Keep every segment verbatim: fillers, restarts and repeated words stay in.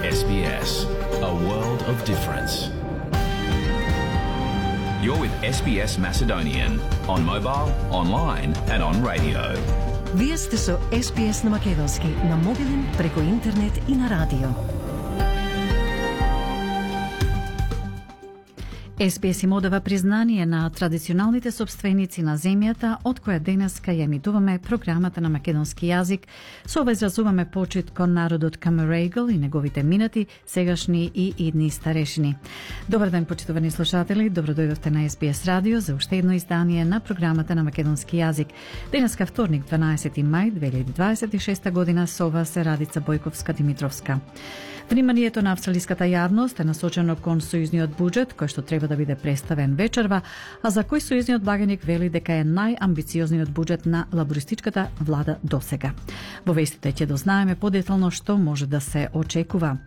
S B S, a world of difference. You're with S B S Macedonian on mobile, online and on radio. Вие сте со С Б С на македонски, на мобилен, преку интернет и на радио. С Б С им одава признание на традиционалните собственици на земјата, од која денеска ја емитуваме програмата на македонски јазик. Со ова изразуваме почит кон народот Камерегл и неговите минати, сегашни и идни старешини. Добар ден, почитувани слушатели, добро дојдовте на С Б С радио за уште едно издание на програмата на македонски јазик. Денеска вторник, дванаесети мај две илјади дваесет и шеста година, со вас е Радица Бојковска-Димитровска. Вниманието на австралиската јавност е насочено кон сојузниот буџет, кој што треба да биде представен вечерва, а за кој сојузниот благаник вели дека е најамбициозниот буџет на лабористичката влада досега. Во вестите ќе дознаеме подетално што може да се очекува.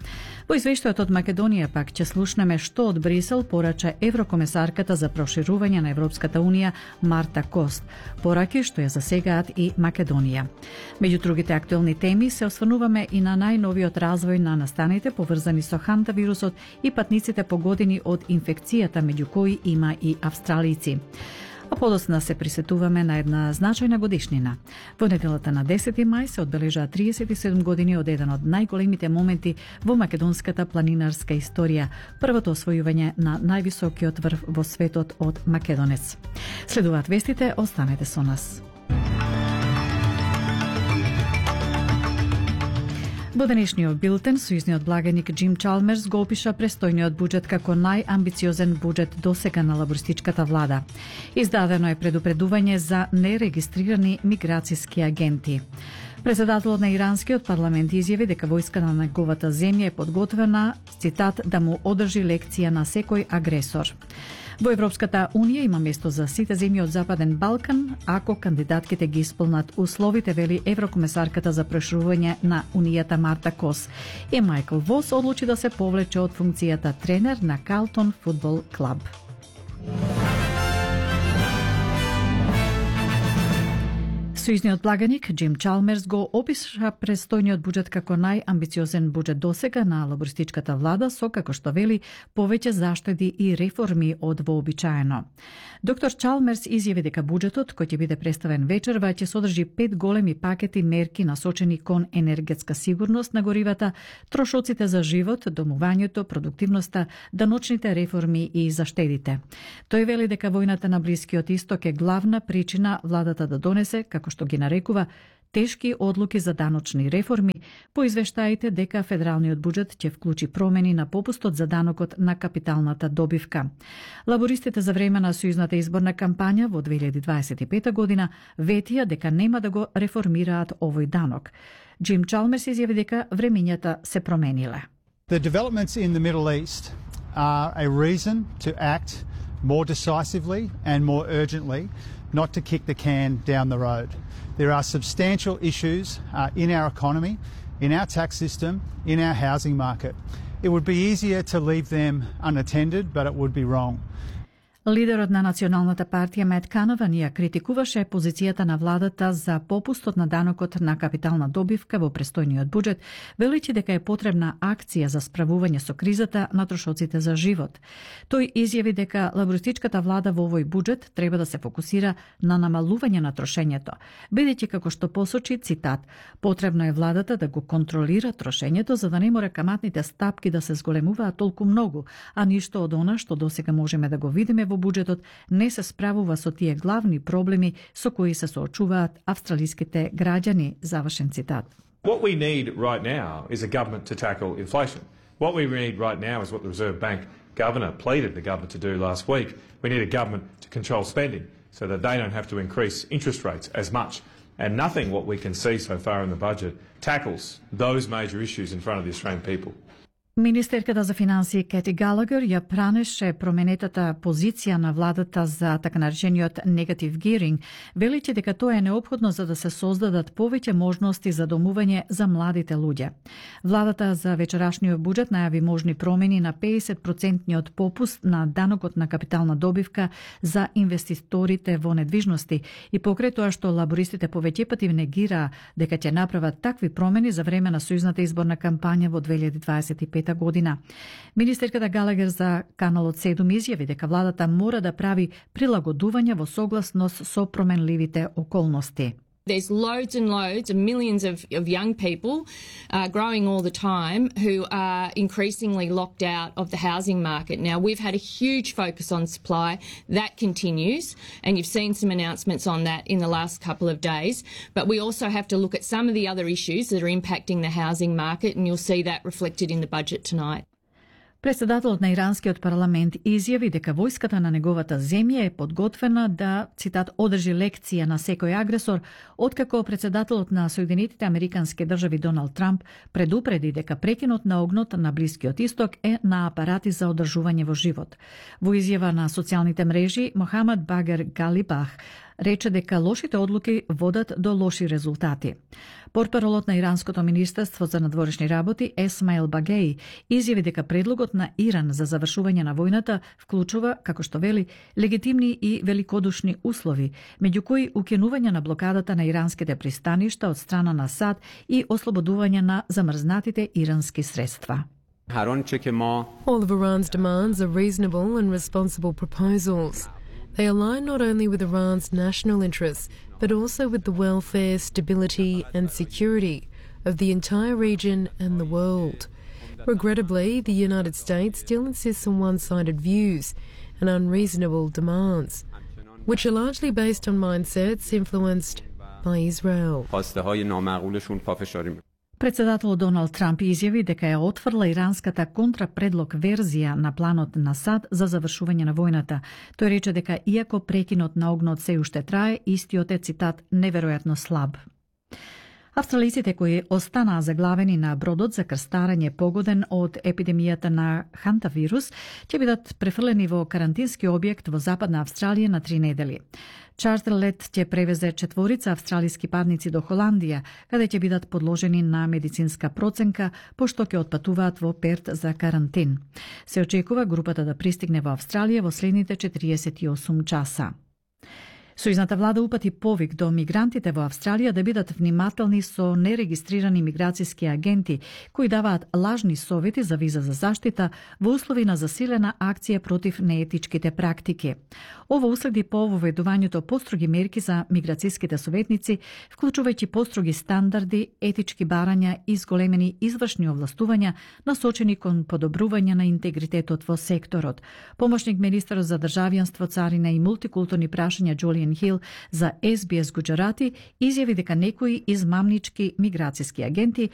Во извештајот од Македонија пак ќе слушнеме што од Брисел порача еврокомесарката за проширување на Европската унија Марта Кост, пораки што ја засегаат и Македонија. Меѓу другите актуелни теми се осврнуваме и на најновиот развој на настаните поврзани со ханта вирусот и патниците погодени од инфекцијата, меѓу кои има и австралици. А подоцна се присетуваме на една значајна годишнина. Во неделата на десети мај се одбележаа триесет и седум години од еден од најголемите моменти во македонската планинарска историја, првото освојување на највисокиот врв во светот од македонец. Следуваат вестите, останете со нас. Во денешниот билтен, сојузниот благаник Џим Чалмерс го опиша престојниот буџет како најамбициозен буџет досега на лабористичката влада. Издадено е предупредување за нерегистрирани миграцијски агенти. Председателот на иранскиот парламент изјави дека војска на неговата земја е подготвена, цитат, да му одржи лекција на секој агресор. Во Европската унија има место за сите земји од Западен Балкан, ако кандидатките ги исполнат условите, вели еврокомесарката за проширување на унијата Марта Кос. И Майкл Вос одлучи да се повлече од функцијата тренер на Калтон фудбал клуб. Сојузниот благаник Џим Чалмерс го опиша престојниот буџет како најамбициозен буџет досега на лабористичката влада, со, како што вели, повеќе заштеди и реформи од вообичаено. Доктор Чалмерс изјави дека буџетот, кој ќе биде представен вечерва, ќе содржи пет големи пакети мерки насочени кон енергетска сигурност на горивата, трошоците за живот, домувањето, продуктивноста, даночните реформи и заштедите. Тој вели дека војната на Блискиот Исток е главна причина владата да донесе, како што ги нарекува, тешки одлуки за даночни реформи, по извештаите дека федералниот буџет ќе вклучи промени на попустот за данокот на капиталната добивка. Лабористите за време на сојузната изборна кампања во две илјади дваесет и пета година ветија дека нема да го реформираат овој данок. Џим Чалмерс изјави дека времењата се промениле. The developments in the Middle East are a reason to act more decisively and more urgently, not to kick the can down the road. There are substantial issues uh, in our economy, in our tax system, in our housing market. It would be easier to leave them unattended, but it would be wrong. Лидерот на Националната партија Мет Канаван ја критикуваше позицијата на владата за попустот на данокот на капитална добивка во престојниот буџет, величи дека е потребна акција за справување со кризата на трошоците за живот. Тој изјави дека лабористичката влада во овој буџет треба да се фокусира на намалување на трошењето, бидејќи, како што посочи, цитат, потребно е владата да го контролира трошењето за да не мора каматните стапки да се зголемуваат толку многу, а ништо од она што досега можеме да го видиме во буџетот не се справува со тие главни проблеми со кои се соочуваат австралиските граѓани, завршен цитат. What we need right now is a government to tackle inflation. What we need right now is what the Reserve Bank governor pleaded the government to do last week. We need a government to control spending so that they don't have to increase interest rates as much. And nothing what we can see so far in the budget tackles those major issues in front of the Australian people. Министерката за финансии Кети Галагер ја пранеше променетата позиција на владата за така наречениот негатив гиринг, величи дека тоа е неопходно за да се создадат повеќе можности за домување за младите луѓе. Владата за вечерашниот буџет најави можни промени на педесет проценти попуст на данокот на капитална добивка за инвеститорите во недвижности и покрај тоа што лабористите повеќе пати негираа дека ќе направат такви промени за време на сојузната изборна кампања во две илјади дваесет и пета година. Министерката Галагер за Каналот седум изјави дека владата мора да прави прилагодувања во согласност со променливите околности. There's loads and loads of millions of, of young people uh, growing all the time who are increasingly locked out of the housing market. Now, we've had a huge focus on supply. That continues, and you've seen some announcements on that in the last couple of days. But we also have to look at some of the other issues that are impacting the housing market, and you'll see that reflected in the budget tonight. Председателот на иранскиот парламент изјави дека војската на неговата земја е подготвена да, цитат, одржи лекција на секој агресор, откако председателот на Соединетите Американски држави Доналд Трамп предупреди дека прекинот на огнот на Блискиот Исток е на апарати за одржување во живот. Во изјава на социјалните мрежи, Мохамед Багер Галибах рече дека лошите одлуки водат до лоши резултати. Портпаролот на Иранското министерство за надворешни работи Есмаил Багеи изјави дека предлогот на Иран за завршување на војната вклучува, како што вели, легитимни и великодушни услови, меѓу кои укинување на блокадата на иранските пристаништа од страна на САД и ослободување на замрзнатите ирански средства. All of Iran's demands are reasonable and responsible proposals. They align not only with Iran's national interests, but also with the welfare, stability and security of the entire region and the world. Regrettably, the United States still insists on one-sided views and unreasonable demands, which are largely based on mindsets influenced by Israel. Председател Доналд Трамп изјави дека ја отфрла иранската контрапредлог верзија на планот на САД за завршување на војната. Тој рече дека иако прекинот на огнот се уште трае, истиот е, цитат, неверојатно слаб. Австралиците кои останаа заглавени на бродот за крстарење погоден од епидемијата на хантавирус ќе бидат префрлени во карантински објект во Западна Австралија на три недели. Чартер лет ќе превезе четворица австралиски парници до Холандија, каде ќе бидат подложени на медицинска проценка, пошто ќе отпатуваат во Перт за карантин. Се очекува групата да пристигне во Австралија во следните четириесет и осум часа. Сојузната влада упати повик до мигрантите во Австралија да бидат внимателни со нерегистрирани миграцијски агенти кои даваат лажни совети за виза за заштита во услови на засилена акција против неетичките практики. Ова уследи по воведувањето построги мерки за миграцијските советници, вклучувајќи построги стандарди, етички барања и зголемени извршни овластувања насочени кон подобрување на интегритетот во секторот. Помошник министерот за државјанство, царина и мултикултурни прашања Джулијан Хил за Ес Би Ес Гуџарати изјави дека некои измамнички миграцијски агенти